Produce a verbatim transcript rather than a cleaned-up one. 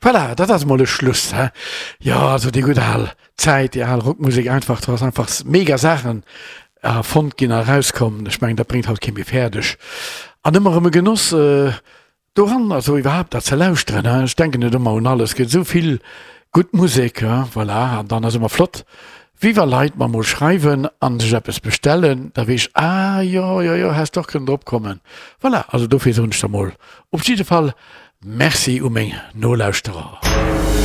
Voilà, dat ass mol e Schluss, he? Jo, also déi gutt al Zäit, déi al Rockmusek einfach, do ass einfach mega Saachen erfonnt ginn a erauskomm. Ech mengen, dat bréngt haut kee méi fäerdeg. An ëmmer erëm e Genoss doran, also iwwerhaapt dat ze lauschteren, he? Ech denken net ëmmer un alles, et gëtt esou vill gutt Musek, he? Voilà, an dann ass ëmmer flott, wéi wa Leit mer mol schreiwen an sech eppes bestellen, da weess ech, ah jo, jo, jo, häss d'och kënnen drop kommen. Voilà, also dofir soen ech da mol op jidde Fall Merci u meng Nolauschterer.